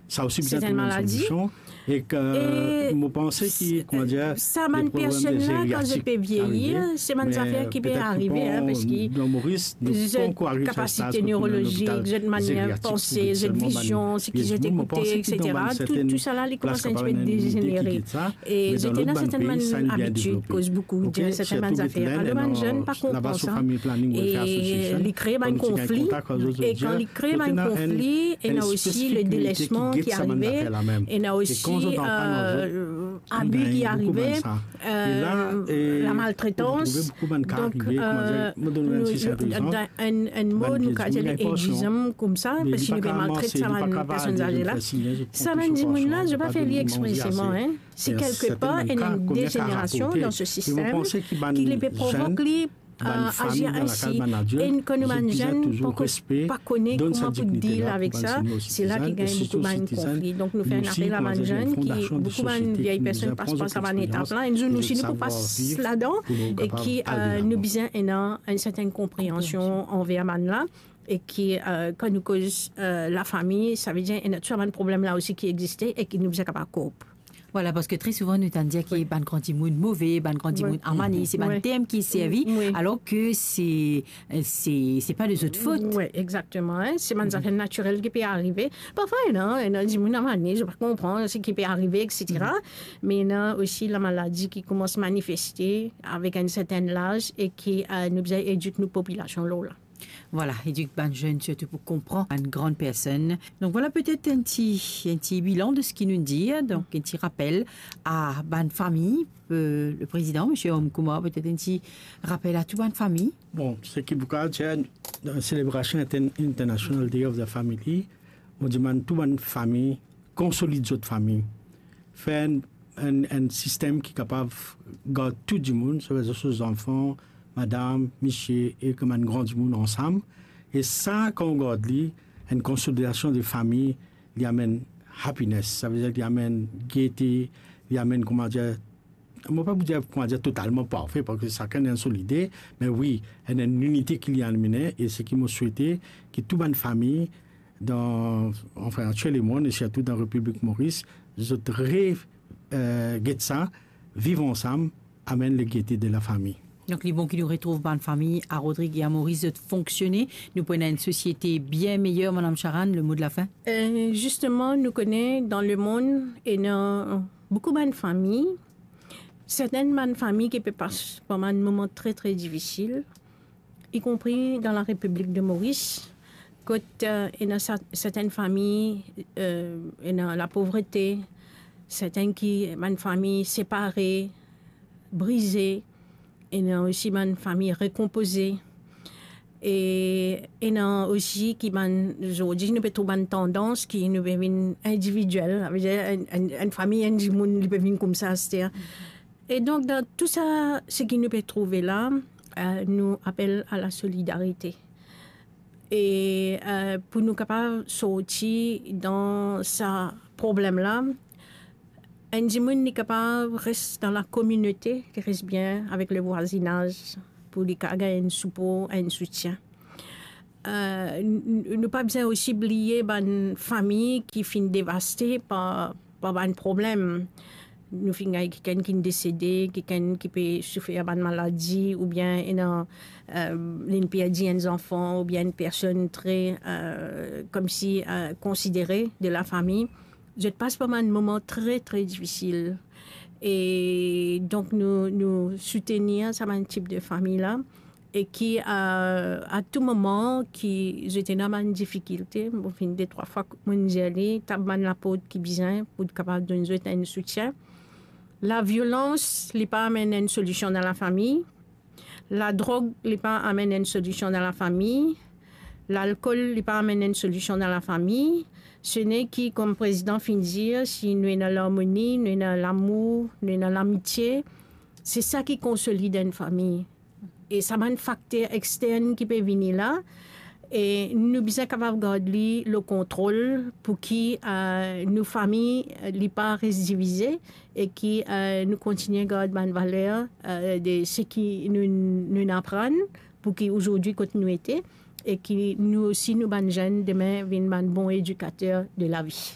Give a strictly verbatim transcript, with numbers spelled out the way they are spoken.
Sa osi bizin trouv enn solisyon. E ke mo panse ki, kouma dir, sa bann personn la, kan zot pe vyeyir, se bann zafer ki pe arive, parski zot kapasite nerolozik, zot manier panse, zot vizion, seki zot ekoute, etsetera, tou, tou sa la, li koumans enn tipe dezenere. E zot ena sertenn bann labitid, koz boukou, dir sertenn bann zafer. Alor bann zenn pa konpran sa. E li kree bann konfli. E kan li kree bann konfli, ena osi le delesman ki arive, ena osi abi ki arive, lamaltretans. Donk, dan enn, enn mo, nou kapav dir li edjizan koumsa, parski nou pe maltret sa bann personn aze la. Sa bann dimoun la, zot pa fer li expreseman, en. Se kelkepar ena enn dezenerasion dan se sistem ki li pe provok li, azir ensi. E kan nou bann zenn pa kone kouma pou deal avek sa, se la ki gagn boukou bann konfli. Donk nou fer enn apel a bann zenn ki, boukou bann vye personn pas par sa bann etap la, enn zour nou osi nou pou pas ladan, e ki nou bizin ena enn sertenn konpreansion anver bann la, e ki, kan nou koz lafami, savedir ena tou sa bann problem la osi ki existe e ki nou bizin kapav koup. Vwala, parski tre souvan nou tann dir ki bann gran dimoun move, bann gran dimoun amane, se bann term ki servi, alor ke se, se, se pa de zot fot. Wi, exakteman, en. Se bann zafer natirel ki pe arive. Parfwa ena, ena dimoun amane, zot pa konpran seki pe arive, etsetera. Me ena osi lamaladi ki koumans manifeste avek enn sertenn laz e ki, nou bizin edik nou popilasion lor la. Vwala, edik bann zenn sirtou pou konpran bann gran personn. Donk vwala, petet enn ti, enn ti bilan de seki nou dir, donk enn ti rapel a bann fami, le prezidan, misie Om Kumar, petet enn ti rapel a tou bann fami. Bon, seki pou kapav dir, dan selebrasion inter-, International Day of the Family, mo dimann tou bann fami konsolid zot fami, fer enn, enn, enn sistem ki kapav gard tou dimoun, savedir so zanfan, madam, misie ek bann gran dimoun ansam. E sa, kan ou gard li, enn konsolidasion de fami, li amenn happiness, savedir li amenn gete, li amenn, kouma dir, mo pa pou dir, kouma dir, totalman parfe, parski sakenn ena so lide, me wi, enn, enn linite ki li amene, e seki mo swete, ki tou bann fami, dan, anfin, dan tou lemonn, e sirtou dan Repiblik Moris, zot re, eh, get sa, viv ansam, amenn legete de lafami. Donk, li bon ki nou retrouv bann fami a Rodrig e a Moris, zot fonksione. Nou pou ena enn sosiete bien meyer, Madam Sharan, le mo de la fin. Eh, zisteman, nou kone dan lemonn, ena boukou bann fami, sertenn bann fami ki pe pas par bann moman tre, tre difisil, ikonpri dan Larepiblik de Moris, kot, eh, ena sa-, sertenn fami, eh, ena lapovrete, sertenn ki, bann fami separe, brize, ena osi bann fami rekonpoze, e ena osi ki bann, zordi nou pe trouv bann tandans ki nou pe vinn individiel, savedir enn, enn, enn fami, enn dimoun, li pe vinn koumsa, aster. E donk, dan tou sa, seki nou pe trouve la, eh, nou apel a lasolidarite. E, eh, pou nou kapav sorti dan sa problem la, enn dimoun li kapav res dan lakominote, li res bien avek lemwazinaz, pou li kapav gagn enn sipor, enn soutien. Eh, n-, n-, nou pa bizin osi bliye bann fami ki finn devaste par, par bann problem. Nou finn gagn kikenn ki desede, kikenn ki pe soufer bann maladi, oubien ena, eh, linn perdi enn zanfan, oubien enn personn tre, eh, koumsi, eh, konsidere de lafami. Zot pas par bann moman tre, tre difisil. E donk nou, nou soutenir sa bann tip de fami la. E ki, eh, a tou moman ki zot ena bann difikilte, mo finn de trwa fwa mo dir li, tap bann laport ki bizin pou kapav donn zot enn soutien. Laviolans, li pa amenn enn solision dan lafami. Ladrog, li pa amenn enn solision dan lafami. Lalkol, li pa amenn enn solision dan lafami. Se ne ki, kom prezidan finn dir, si nou ena larmoni, nou ena lamour, nou ena lamitie, se sa ki konsolid enn fami. E sa bann fakter extern ki pe vini la, e nou bizin kapav gard li lor kontrol pou ki, eh, nou fami, eh, li pa res divize e ki, eh, nou kontigne gard bann valer, eh, de seki nou, nou aprann pou ki ozordi kot nou ete, e ki nou osi, nou bann zenn, demin vinn bann bon edikater de lavi.